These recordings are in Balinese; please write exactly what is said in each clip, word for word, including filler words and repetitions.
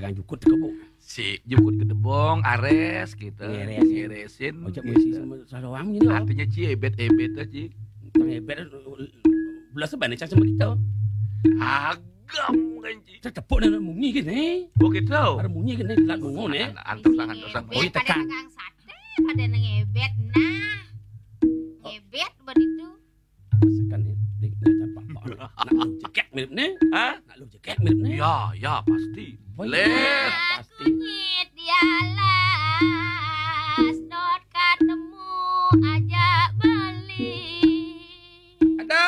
Yang jukut ke bu. Si jukut ke debong, ares gitu. Ngeresin. Ngeresin. Ojek gitu. Musisi sama saroang gitu. Artinya ci ebet-ebet aja. Yang ebet belas sebanyak sama kita. Agam kan ci. Tetepuk dan munyi gini. Oh gitu. Ada munyi gini, telat mungun ya. Antar tangan, antar tangan. Oh, iya, tekan. Pada ngebet nah. Ngebet begitu. Masakan ni, dik, nak capak. Nak lu jekek mirip ni. Hah? Nak lu jekek mirip ni. Ya, ya, pasti. Boleh. Leh. Pasti. Kunyit dialas, dot ketemu aja beli. Ada.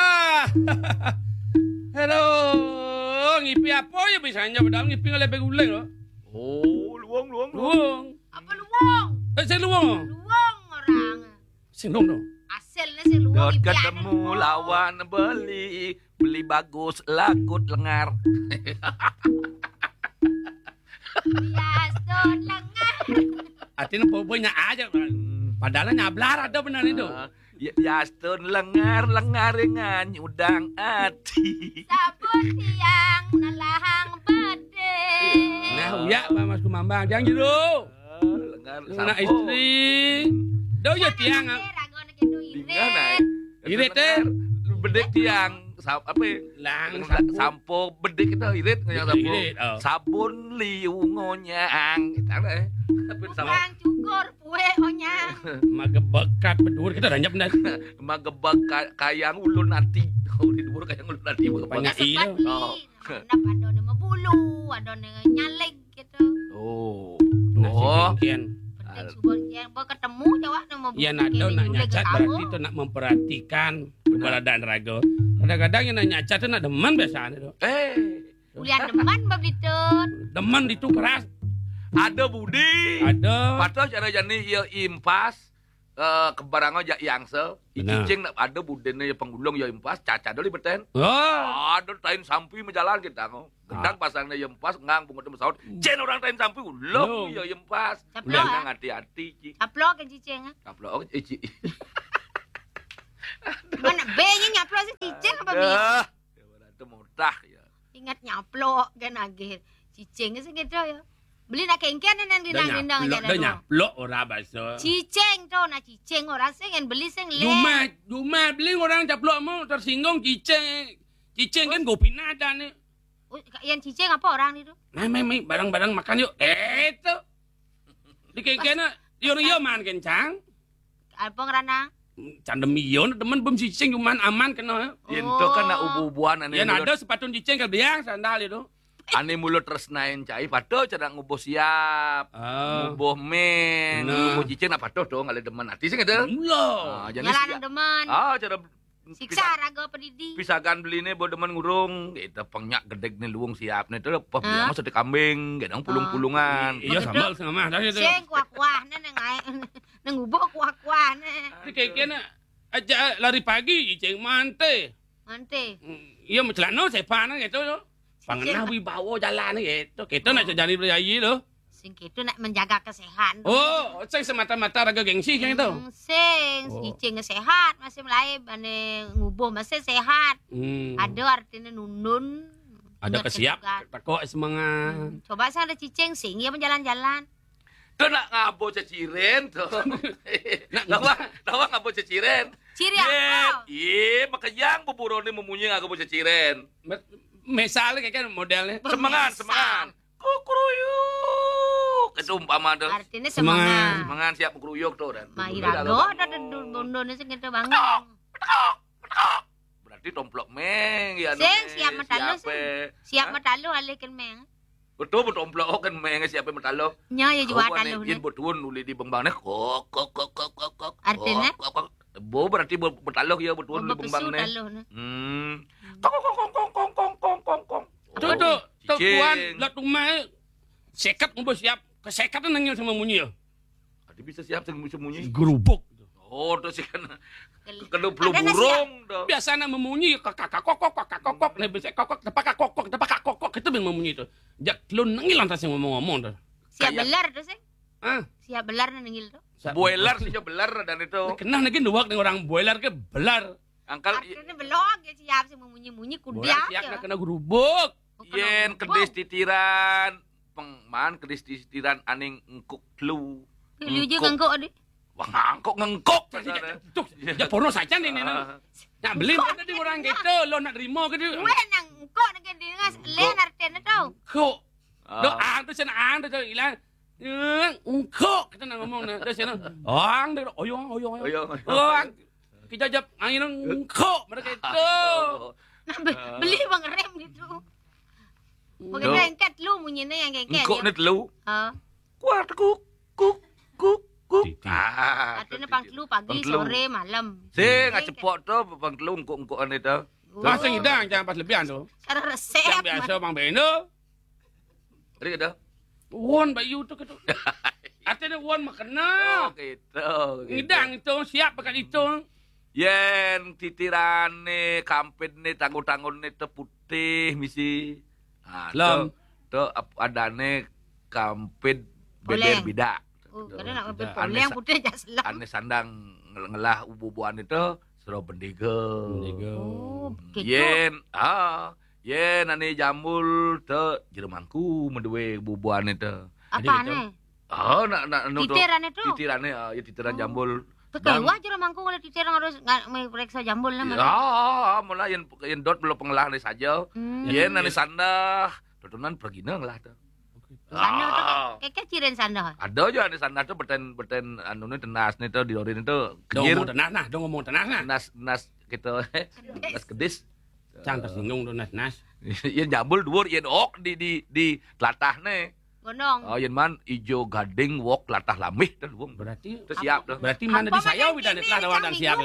Hello. Ngipi apa ya bisanya padahal ngipi ngalih guling lo. Oh, luang, luang, luang. Luang. Apa luang? Eh, saya luang. Luang orang. Sing dong dong. Hasilnya sing luang. Dot ketemu lawan beli, beli bagus lagut lengar. Bias dot lengar. Artinya pokoknya aja. Padahal nyablar ada benar itu. Ah, ya, bias dot lengar, lengar dengan nyudang ati. Sabun tiang nelahang bede. Nah, uyak Mas Kumambang, jangan gitu. Lengar. Anak sampo. Istri. Dah ya tiang. Irit, eh. Irit, eh. Bedik tiang. Sa-, apa ya? Lang, sampo. Sampo bedik itu irit, yang sampo. Irit, oh. Sabun liu ngonyang. Itu apa ya? Sabun sampo. Tukang cukur kue onyang. Magebekat bedur kita ranjap benar. Magebek ka-, kayang ulun ati. Oh, di dua kayang ulun ati. Magebek. Banyak iya. Sebat li. Oh. Nah, ada nama bulu, ada nama nyaleg. Gitu. Oh. Nah, oh. Penting subur, ya, ba ketemu jawab nama. Ya, nado nak nyacat berarti tu nak memperhatikan keberadaan raga. Kadang-kadang yang nak nyacat tu nak demen biasanya tu. Eh. Ulian demen ba begitu. Demen ditu keras. Ada budi. Ada. Patut cara jani ya impas. Eh, kebarang aja yang se. Benar. Cicing nak ada budene ya penggulung ya impas, caca dulu beten. Oh. Ada tain sampi menjalan kita ngo. Gendang pasangnya ya impas, ngang bungut pesawat. Jen orang tain sampi ulung ya impas. Caplok. Jangan hati-hati, Ci. Caplok ke cicing, ah? Caplok, eh, Ci. Mana B-nya nyaplok si cicing apa bi? Dah. Ya, itu mudah ya. Ingat nyaplok kan agih. Cicing sing gitu ya. Beli nak kengken nang dindang-dindang aja. Dah nyaplok ora baso. Cicing tu, nak cicing ora sing, yang beli sing le. Cuma, cuma beli orang caplok mau tersinggung cicing. Cicing kan gopina ada ni. Oh, yang cicing apa orang itu? Mai, mai, mai, barang-barang makan yuk. Eh, tu. Di kengken, yo, yo, man kencang. Apa ngerana? Candem iyo, teman bem cicing cuman aman kena. Yen to kan nak ubu-ubuan ane. Yen ada sepatu cicing ke biang sandal itu. Ane mulut tresnain cai patuh cara ngubuh siap. Ah. Ngubuh men, ngubuh cicing nak patuh to ngalih demen ati sing ada. Iya. Ah, jadi ngalah demen. Ah, cara siksa raga pedidi. Pisagan beline bo demen ngurung, gitu penyak gedeg ni luung siap ni tu apa biang mah sate kambing, gitu pulung-pulungan. Iya, sambal setengah mah dah itu. Sing kuah-kuah ni nang ai. Nang ngubuh kuah-kuah ni. Di kengken aja lari pagi, cicing mante. Mante. Hmm, iya, mencelana sepan gitu. Pangenah wibawa jalan gitu. Kita nak jadi beli ayi tu. Sing kita nak menjaga kesehatan. Oh, sing semata-mata raga gengsi kayak gitu. Hmm, sing, cicing sehat, masih mulai bane ngubuh masih sehat. Hmm. Ada artinya nundun. Ada kesiap, tekok semangat. Hmm. Coba sing ada cicing, sing iya menjalan-jalan. Tu nak ngabo ceciren tu. Nak tawa, tawa ngabo ceciren. Ciri apa? Iya, makanya yang buburo ni memunyi ngabo ceciren. Misal kayak kan modelnya. Semangat, semangat. Kukruyuk. Itu umpama tu. Artinya semangat. Semangat siap kukruyuk tu dan. Mai raga ada bondo ni sing kita bangun. Betok, betok, betok. Berarti tomplok meng ya. Sing siap metaluh sing. Siap metaluh alihkan meng. Betul, betul, omplok kan meng siapa metaluh. Nya ya jua taluh ni. Yen betuun uli di bembang ni kok kok kok kok kok kok. Artinya? Kok kok. Bo berarti bo-, betaluh ya betuun uli bembang ni. Taluh ni. Hmm. Kong kong kong kong kong kong kong kong kong. Tu tu, tu tuan lah tumai sekat ngubuh siap. Kesekat nangil sama munyi ya. Ada bisa siap sing bisa munyi. Gerubuk. Oh, tu sih kan. Kena belum burung tu. Biasa nak memunyi kakak kokok kakak kokok ni bisa kokok tepak kokok tepak kokok itu bin memunyi tu. Jak lu nengil lantas yang ngomong-ngomong tu. Siap belar tu sih. Ah. Siap belar nengil tu. Boiler sih belar dan itu. Kena lagi nuak dengan orang boiler ke belar. Angkal artinya belok ya siap sih memunyi-munyi kudiak ya. Siap nak kena gerubuk. Yen kedis titiran. Pengman kedis titiran aning engkuk telu. Lu juga ngengkuk, Dik. Wah, ngangkuk, ngengkuk. Tuh, ya porno saja nih, nih, nih. Ah. Nak beli mana di orang gitu, lo nak terima ke dia? Gue nang engkuk nak dia ngas, le narten tu. Engkuk. Ah. Doa tu sana, ang tu ilang. Eh, engkuk kita nak ngomong nak. Dah sana. Ang dia, oyong, oyong, oyong. Oyong, oyong. Ang. Kita jap angin engkuk mereka itu. Oh. Nah, be- beli bang rem gitu. Bukan engkek lu munyinya yang kengkek. Engkuk ni telu. Ha. Kuat kuk, kuk, kuk, kuk. Titi. Ah, artinya pang telu pagi, pang telu. Sore, malam. Sing, engkek. Cepok tu, pang telu engkuk-engkuk ane tu. Oh. Pas ngidang, jangan pas lebihan tu. Cara resep. Yang biasa bang beno. Ada kata? Won bayu tu kata. Artinya won makena. Oh, gitu. Ngidang itu siap pakai itu. Yen titirane kampidne tanggo-tanggone te putih misi. Ah, lem. Tu, tu ap- adane kampid beber bidak. Oh, kadang nak kampid poleng putih jas lem. Ane sandang ngel- ngelah ubu-ubuan itu sero bendega. Bendega. Oh, gitu. Yen, ah, yen ane jambul tu jeremangku medue ubu-ubuan itu. Apa ane? Oh, nak nak anu tu. Titirane tu. Titirane, ah, ya titiran jambul. Keluar jeremangku kalau titiran harus nggak mau periksa jambul lah. Ya, mula yang yang dot belum pengelah ni saja. Hmm. Yen ane sandah, tutunan pergi nang lah tu. Sandah tu keke ciren sandah. Ada je ane sandah tu beten beten anu ni tenas ni tu di lori ni tu. Dong ngomong tenas nah, dong ngomong tenas nah. Tenas tenas kita, tenas kedis. Cang tersinggung tu nas nas. Yen jambul duur yen ok di di di telatah ne. Gondong. Oh, yen man ijo gading wok latah lambih tu luung. Berarti tu siap tu. Berarti mana di saya widan telah dawan dan siap.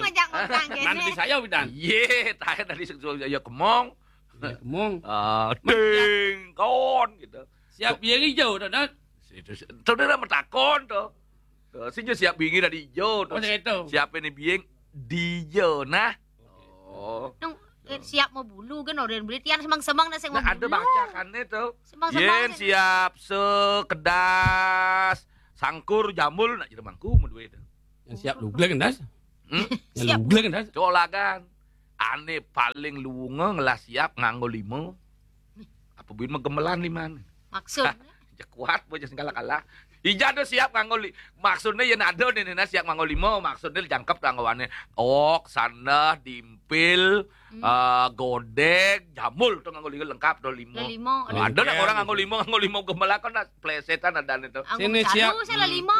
Mana di saya widan. Ye, tahe tadi seksual ya kemong. Ya, kemong. Ah, ding kon gitu. Siap ye ijo tu dah. Itu tu dah metakon tu. Sing siap bingi tadi ijo tu. Oh, gitu. Siap ini biing di ijo nah. Oh. Nung eh, siap mau bulu kan orang beli tiang semang-semang nasi mau bulu. Ada baca kan itu. Semang-semang. Yen siap sekedas sangkur jambul nak jeremangku mau duit. Yang siap luglek kan das? Hmm? Yang luglek kan das? Colagan. Ane paling luunge ngelah siap nganggo lima. Apa buin mah gemelan liman. Maksud? Ya kuat bocah segala kalah. Ija tu siap nganggo li- maksudnya ya nado nih nah siap nganggo lima maksudnya jangkep tu anggoane. Ok, sandah, dimpil, eh, godeg, jambul tu nganggo lima lengkap tu lima. Lima. Ada nak orang nganggo lima nganggo lima gemelakon nak plesetan ada nih tu. Sini siap. Salah lima.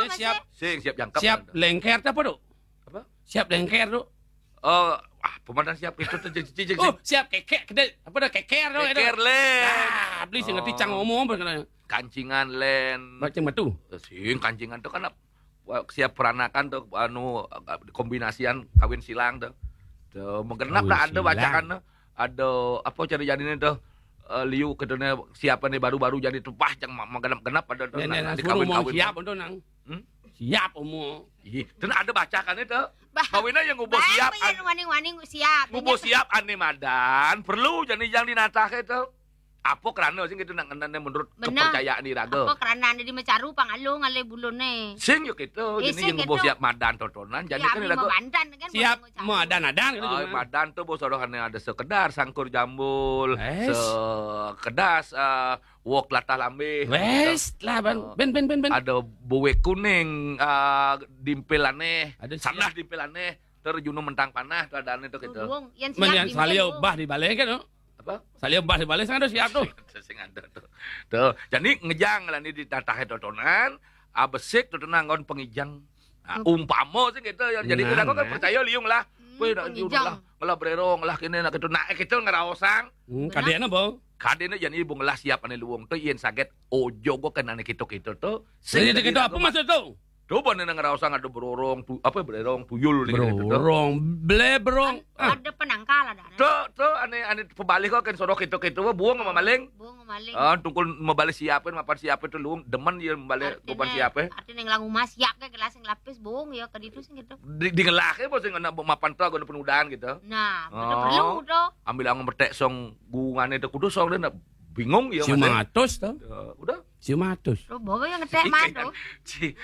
Sing siap jangkep. Siap lengker tu apa tu? Apa? Siap lengker tu. Oh, ah, pemandan siap itu tu. Oh, siap kekek kedai. Apa dah keker tu? Keker le. Ah, beli sing ngerti cang ngomong apa kena. Kancingan len. Bacing batu. Sing kancingan tu kan ap- wah, siap peranakan tu anu kombinasian kawin silang tu. Tu menggenap dah ada bacakan tu. Ada apa cara jadinya tu? Eh, liu kedene siapa ni baru-baru jadi tu bah yang menggenap-genap ada tu. Nenek nak suruh mau siap tu nang. Hmm? Siap umur. Ih, dan ada bacakan itu. Kawinnya yang ngubo siap. Waning-waning siap. Ngubo siap ane madan perlu jadi yang dinatah itu. Apa kerana sing gitu nak ngenane menurut kepercayaan iraga? Apa kerana ane di mecaru pangalung ale bulune? Sing yo gitu. Jadi yang ngubo siap madan totonan jadi kan iraga. Siap madan-adan gitu. Oh, madan tu bos orang ada sekedar sangkur jambul, sekedar eh, wok latah lambih. Wes lah bang. Ben ben ben ben. Ada buwe kuning ah, dimpilane, ada sandah dimpilane. Terjunu mentang panah tu ada ane tu gitu. Salio bah di balai kan tu. Apa? Salio bah di balai sana siap tu. Sing ada tu. Tu, jadi ngejang lah ni di tatah totonan, ah, besik totonan ngon pengijang. Ah, umpama sih gitu ya. Jadi kita kan percaya liung lah. Weh nak liung lah, ngelah bererong lah kini nak gitu. Nak gitu ngeraosang. Hmm, kadena bang. Kadena jadi ibu ngelah siap ane luung tu yen saget ojo gua kena ane gitu-gitu tu. Sing gitu apa maksud tu? Coba nih nang ngerasa ada berorong tu apa berorong tuyul nih gitu. Berorong, ble berong. Ada penangkal ada. Tu tu ane ane pebalik kok kan sodok itu gitu buang sama maling. Buang sama maling. Ah, tungkul mebalik siapin mapan siapin tu luung demen dia mebalik mapan siapin. Artinya ngelang rumah siap ke gelas yang lapis buang ya ke ditu sing gitu. Di ngelah ke bos yang nak mapan tu ada penudahan gitu. Nah, betul perlu tu. Ambil ang metek song gungane tu kudu song dia nak bingung ya. Cuma atus tu. Udah. Sium atus. Lo bawa yang ngetek mah tuh. Ci,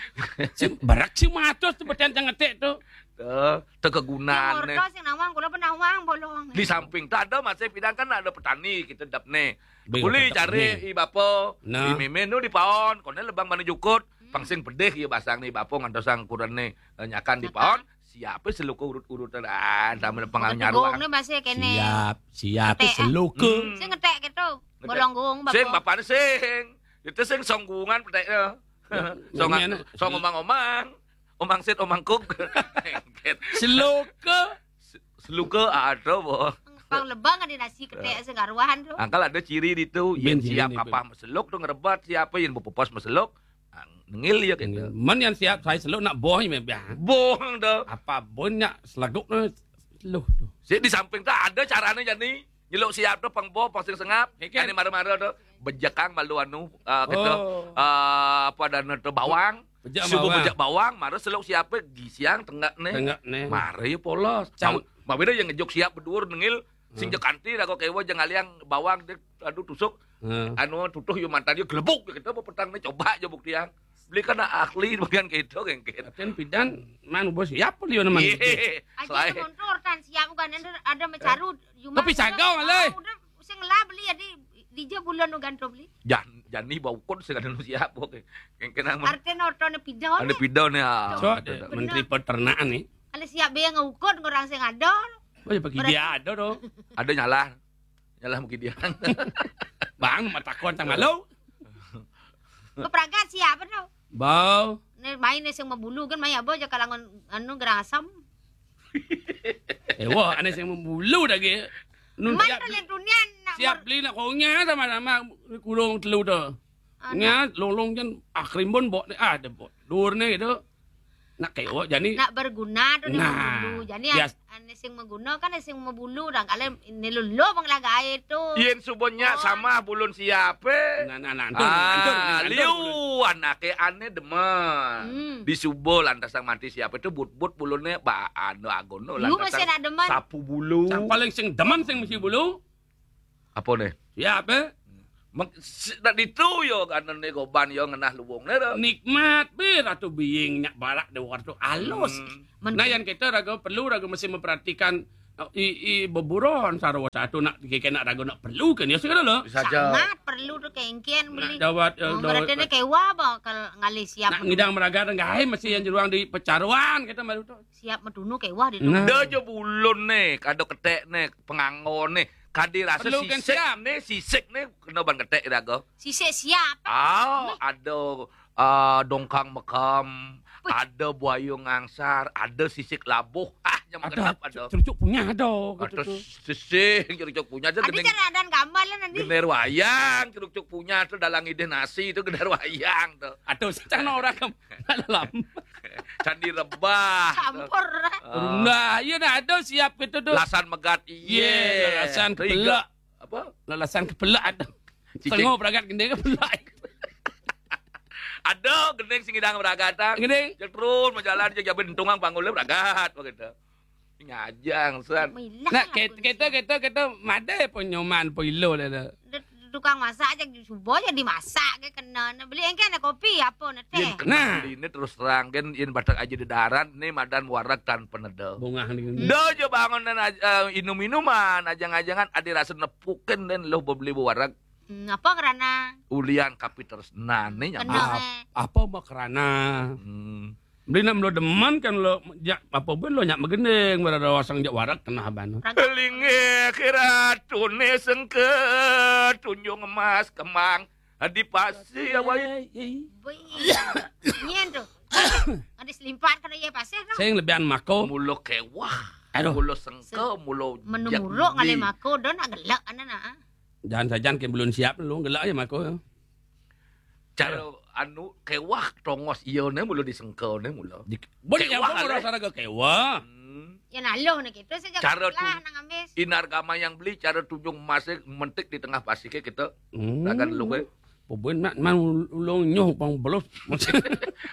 Sium, berak sium atus tuh beten yang ngetek tuh. eh, tekegunaan Yang orto sing nawang kula pernah wang bolong. Di samping tak ada masih pidang kan ada petani kita dap nih. Beli Boleh petani. Cari i bapo, Nah. i mimin nu di paon, kone lebang mana jukut, pangsing pedih ya basang nih bapo ngantos sang ukuran nih eh, nyakan di paon. Siapa seluka urut-urutan ah sama pengal Gong nyaruang. Nih masih kene. Siap, siap Ngetek, ah. Seluka. Hmm. Sing ngetek gitu. Ngetek. Bolong gong Sing bapak. bapak sing. Itu sing songgungan petek ya. Song Ngomongnya song omang-omang. Omang sit omang kuk. Engket. Seluka. Seluka ada boh. Pang lebang ada nasi ketek sing karuan tuh. Angkal ada ciri di tu. Bin Yang siap ciri ni, kapah meseluk tu ngerebat siapa yang bepepos meseluk. Nengil ya gitu. Men yang siap saya seluk nak boh ni biar. Bohong tu. Apa boh nak selaguk tu. Seluh tu. Si di samping tu ada caranya jadi. Nyeluk siap tu pang boh pang sing sengap. Ya, kan? Ini mara-mara tu. Bejekang malu anu uh, kita Oh. uh, apa dana tu bawang. Bejak Subuh bawang. Bejak bawang mara seluk siapa gisiang tengah ni. Tengah ni. Mara ya polos. Cang- Mau beda yang ngejok siap berdua nengil sing jekanti dah kau kewa jeng aliang bawang dia aduh tusuk Hmm. anu tutuh yo mantan yo gelebuk kita apa petang ni coba aja buktian. Beli kan ahli bagian gitu kengkit. Ten pidan man bos siap dia nama. Iya. Aja Selain montor tan siap kan ada ada mecaru cuma Tapi sagau, alai. Udah sing lah beli ya di dija bulan ugan to beli. Jan jani bau ukut sing ada nu siap oke. Kengkit nang Artinya ortone pidon. Ada pidon ya. So ada menteri peternakan ni. Ada siap be yang ngukut orang sing ada. Oh ya bagi dia ada tu. Ada nyalah. Nyalah mungkin dia. Bang matakon tang malu. Kepragat siapa tu? Bau. Ni main ni sing mabulu kan main apa aja kalangan anu gerang asam. Eh wah, aneh sing membulu dah ke. Nun Main siap, tu lihat dunia nak siap beli nak kongnya sama-sama kurung telu tu. Nya long-long jan ah krimbun bok ni ah ada bok. Dur ni gitu. Nak kayak wah jani. Nak berguna tu dia Nah, mabulu. Jadi bias- ane sing maguna kan sing mabulu dah kalau ini lulu bang lagae tu. Yen subuhnya sama bulun siapa? Nah nah nah. Antur, antur, Ah, antur. Liu anake ane demen. Hmm. Di subuh lantas sang mati siapa itu but-but bulune ba anu agono Liu masih nak demen. Sapu bulu. Sing paling sing demen sing mesti bulu. Apa nih? Ya apa? Mek- si- Nak ditu yo kanan ni goban yo ngenah luwung ni tu. Nikmat be ratu biing nyak barak de waktu alus. Hmm. Men- Nah yang kita raga perlu raga mesti memperhatikan i i beburon sarwa satu nak kena raga nak perlu kan ya segala lo. Bisa aja. Sangat perlu tu kengkian Nak beli. jawat ya, Oh, do- berarti ni kewa apa kalau ngalih siap. Nak ngidang meraga dengan mesti yang jeruang di pecaruan kita baru tu. Siap medunu kewa di Nah. Dah je bulun ni, kada ketek ni, pengangon ni. Kadi rasa Perlu kan sisik siap. Ni, sisik ni kena ban ketek dah ke. Sisik siap. Ah, ada ah, dongkang mekam, ada buaya ngangsar, ada sisik labuh. Ah, yang Ada kedap ada. cerucuk punya ada Ada gitu tu. sisik, cerucuk punya tu Ada gening. Cara dan gambar lah nanti. Gener wayang, cerucuk punya tu dalam idih nasi tu gener wayang tu. Atau sana orang ke dalam. Candi rebah. tu. Campur lah. Ah, Nah, iya dah ada siap gitu tu. Lasan megat iya. Iya, lasan Tiga. kepelak. Apa? Lasan kepelak ada. Cicing. Tengok beragat gendeng kepelak. Ada gending sing idang beragatan. Gending. Cek terus majalan cek jabe dentungang panggulnya beragat begitu. Ngajang san. Milah Nah, lah kita pun. kita kita kita made pun nyoman pun ilo dah. Dah. Dia tukang masak aja subuh aja dimasak ke kena. Nah, beli engke ada kopi apa nak teh? Yen kena Nah. Ini terus terang kan yen batak aja dedaran ni madan warak tan peneda. Bungah ni. Dah je bangun dan aj- eh, inum-inuman ajang-ajangan ada rasa nepukin dan lo beli warak Hmm, apa kerana ulian kapi terus nah ni kena nyampe. eh. Apa makrana? Hmm. Beli nak melo deman kan lo jak apa pun lo nyak megending berada wasang jak warak kena abang. Linge kira tune sengke tunjung emas kemang di pasi awai. Bui. Nyen tu. Ada selimpat kena ye pasir tu. Saya lebihan mako. Mulo kewah. Aduh. Mulo sengke, mulo Menu jak muruk di. Ngalih mako dah nak gelak anak nak. Jangan sajan ke belum siap lu gelak aja mako. Cara anu kewah tongos iya ne mulo disengke ne mulo. Boleh yang Kewah, kau leh. Rasa raga kewah. Hmm. Ya naloh nak kita saja Cara lah tu. Nang ambis. Inar gama yang beli cara tunjung emas mentik di tengah pasir ke kita. Hmm. Ragan lu ke. Pebun nak man ulung nyoh pang belos.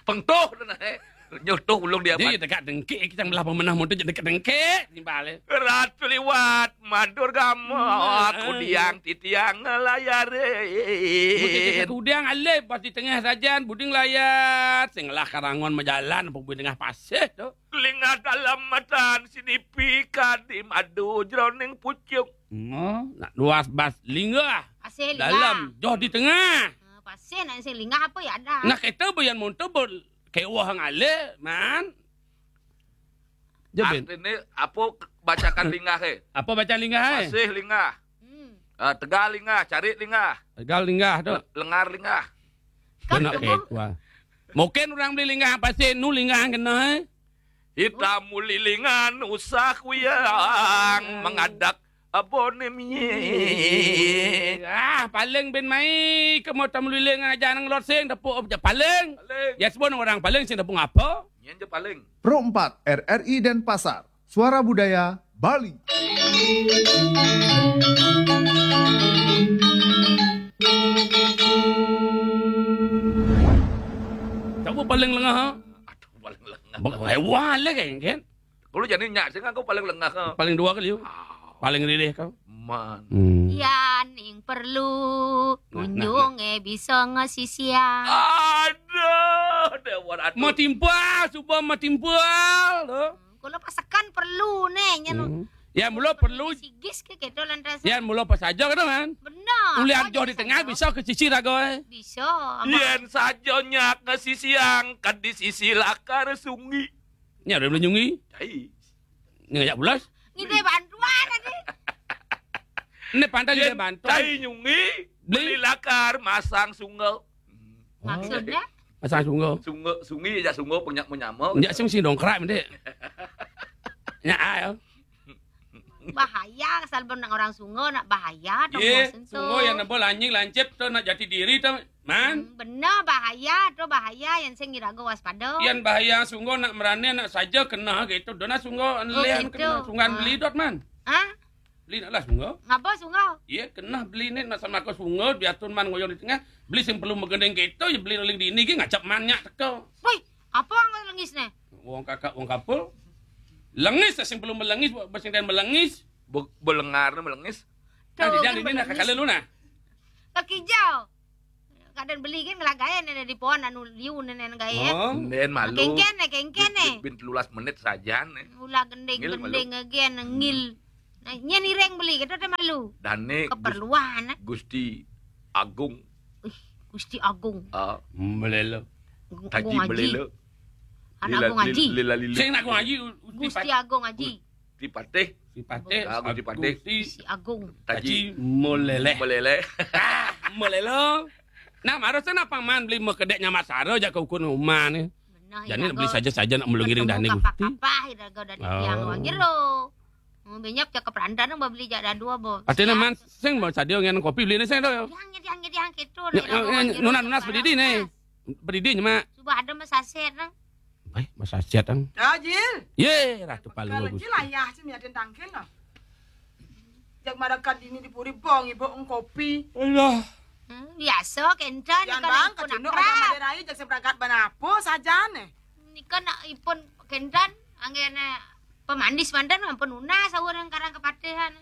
Pengtoh tu nah eh. Nyotoh ulung dia. Dia dekat dengkik, kita belah pemenah motor jadi dekat dengkik, timbal. Ratu liwat, madur gama, kudiang titiang ngelayarin. Kudiang alih, pas di tengah sajan, buding layat, sing lah karangon majalan, apa buding tengah pasir tu. Lingah dalam matan, sinipi kadi madu jroning pucung. Hmm, nak luas bas lingah. Pasir lingah. Dalam, joh di tengah. Ah, pasir nak sing lingah apa ya dah. Nah, kita bayan montor ber-, kewah ngalih, man. Artinya, apa bacakan lingah, eh? Apa bacaan lingah, eh? Pasir lingah. Hmm. Ah, tegal lingah, carik lingah. Tegal lingah tu. Le-, lengar lingah. Kena kewah. Mungkin orang beli lingah pasir, nu lingah kena, eh? Hitam muli lingan usah kuyang mengadak abone mie. Ah, paling bin mai ke motor meliling aja nang lot sing tepuk aja paling. Paling. Ya sebut orang paling sing tepuk apa? Nyen je paling. Pro empat R R I Denpasar, Suara Budaya Bali. Coba paling lengah, ha? Aduh, paling lengah. Hewan lah kan, kan? Kalau jadi nyak sing aku paling lengah, ha? Paling dua kali, yuk. Ah. Paling rilih kau. Man. Hmm. Yan ing perlu, nah, nah, kunjung, nah, eh, bisa ngesisian. Aduh, dewa ratu. Mau timpal, cuba mau timpal, loh. Kalau pasekan perlu nih, nyen. Hmm. Ya, mula perlu. Sigis ke gitu lantas. Ya, mula pas aja gitu kan. Benar. Ulian joh di tengah bisa ke sisi raga, eh. Bisa. Yen saja nyak ke sisi angkat di sisi lakar sungi. Nya udah belum nyungi. Cai. Nya ngajak pulas. Ngidih bantuan tadi. Ini pantai ngidih bantuan. Cai nyungi, beli lakar, masang sungai. Maksudnya? Pasang sungguh. Sungguh, sungi ya sungguh, penyak menyama. Nyak sing sing dongkrak mendek. Nyak ah, ya. Bahaya, asal benar orang sungguh nak bahaya dong. Ye, sungguh yang nembol anjing lancip tu nak jati diri tu, man. Hmm, benar bahaya tu, bahaya yang sing iraga waspada. Yang bahaya sungguh nak merani nak saja kena gitu. Dona sungguh, oh, lian gitu. Kena sungguh beli dot, man. Hah? Beli nak lah sungguh. Ngapa sungguh? Iya, kena beli ni nak sama aku sungguh, biar tun man ngoyong di tengah. Beli sing perlu megendeng kita, ya beli ling dini gi ngacap man nyak teka. Woi, apa nggak lengis ni? Wong kakak, wong kapul. Lengis, sing perlu melengis, buat sing dan melengis. Be-, belengar ni melengis. Nah, tuh, dia kan ini nak melengis. Kakak lu nah. Kaki hijau. Kadang beli kan ngelagayan ada di pohon anu liu nenen gaya. Oh. Nen malu. Kengken ni, kengken ni. Bin, bin, bin telulas menit saja ni. Ulah gending, ngil malu. Gending again, ngil. Nah, nyen ireng beli gitu deh malu. Dan ni Gus-, keperluan, eh. Gusti Agung. Ih, Gusti Agung. Ah. Melelo. Agung, Taji Agung Haji. Melelo. Anak Lila, Agung Haji. Lila, Lila, Lila. Sing nak Agung Haji, Gusti Gusti Agung Haji. Patih. Gusti Patih. Ah, Gusti Patih. Gusti Gusti Agung. Taji. Taji Molele. Molele. Ah, Molelo. Nah, marah sana paman beli mau kedek nyamat saro aja ke ukun rumah ni. Benar. Jadi ya, nak beli saja-saja nak melungiring dah ni Gusti. Kapah-kapah iraga dari tiang wang jero. Oh, benyap cakap perandan nang beli jak dadua bo. Artinya man sing mau sadio ngen kopi beli ni sing tu. Yang nyediang nyediang gitu. Nunas nunas pedidi ni. Pedidi nyemak. Coba ada masaset nang. Eh, masa siat ang. Tajil. Ye, ratu palu. Kalau jil ayah sih miatin tangkil lah. Jak marakat dini di puri bong ibu ngkopi. Alah. Hmm, biasa kentan. Yang bang kacunduk aja maderai jak seberangkat banapo saja nih. Nika nak ipun kentan anggene pemandis mantan ampun una sahur yang karang kepatihan.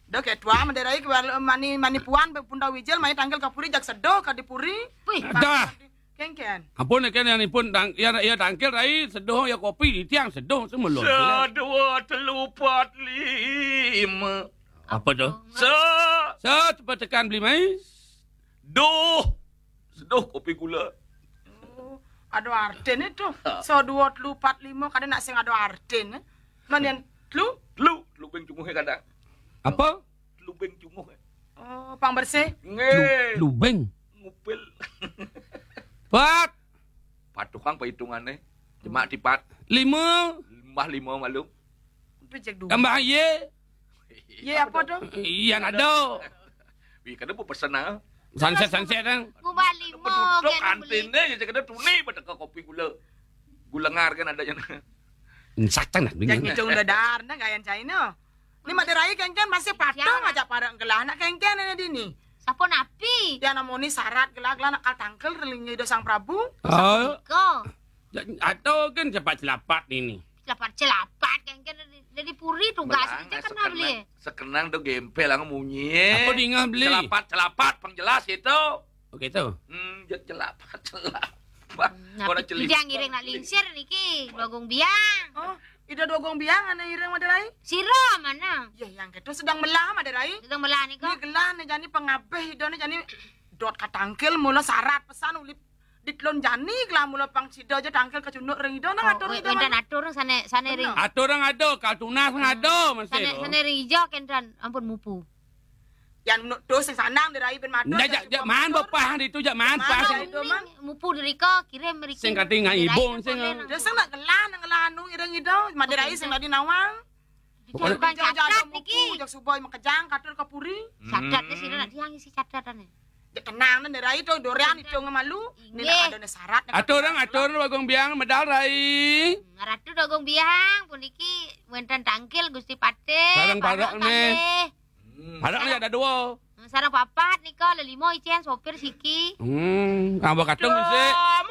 Dah ketua maderai ke mani mani puan punda wijil mai tangkil kapuri jak sedo kadipuri. Wih. Dah. Kengken. Ampun, kengken yang ipun tang-, ya, ya tangkil rai seduh ya kopi di tiang seduh semelon. Sedua telu pat lima. Apa tu? Se. Se cepat tekan beli mai. Duh. Seduh kopi gula. Oh, ada artin itu. Ha. Sedua telu pat lima kada nak sing ada artin. Manian telu? Telu, telu beng cunguh kadang. Apa? Lubeng cunguh. Oh, pang bersih. Nggih. Lu-, lubeng. Ngupil. Pat. Pat tukang perhitungannya. Jemak tipat. Lima. Tambah lima malu. Tambah ye. Ye apa tu? Iya, ada. Wih, kada apa pesen ah. Sunset, sunset, ang. Ngubah lima. Betutuk kantin deh, jadi kada tuni, pada ke kopi gula. Gula ngar kan ada jana. Satang dah. Jangan ngitung dadar, nah, gayan China. Ni maderai kengken masih patah ngajak parang gelah nak kengken ini dini. Siapa napi? Ya namoni syarat gelah-gelah nak kal tangkel relingi do Sang Prabu. Oh. Iko. Atau kan cepat celapat ini. Celapat-celapat kan kan dari, dari puri tugas Belang, aja kan sekenang, beli. Sekenang do gempel ang munyi. Apa dingah beli? Celapat celapat pang jelas itu. Oke tuh. Hmm, jet celapat celapat. Nah, Orang pikir celik. Dia ngiring nak lingsir niki Bagong Biang. Oh, ida Dogong Biang anak ireng Madai. Sira mana? Ya yang ketu sedang melah Madai. Sedang melah nika. Ni gelah ni jani pengabeh ida ni jani dot katangkil mula syarat pesan ulip di telun jani gelah mula pang sida je tangkil kecunduk ring ida nang atur ida. Wenten atur sana sana ring. Atur orang ada, kal tunas orang ada masih Sana tu. Sana ring ijo kenten ampun mupu. Yang menuk tu sing sanang Madai ben mata. Nda jak jak man bepah di tu jak man pas. Itu man. Mupu derika kirim mereka. Sing kati ngai ibung sing. Dia sing nak gelah nang gelah anu ireng ida Madai sing tadi nawang. Tukang Jauh-jauh catat muku, niki. Jak subai makejang katur ke puri. Catat ni sira nak tiang isi catatan ni. Dia tenang nang Madai tu durian itu ngemalu. Ni Inggih. Ada ni syarat. Atur orang atur Bagong Biang medal rai. Ratu Dogong Biang puniki wenten tangkil Gusti Patih. Sarang parak ni. Kalih. Parak ni ada dua. Sarang papat nika lelima icen sopir siki. Hmm, tambah katung masih. Dom,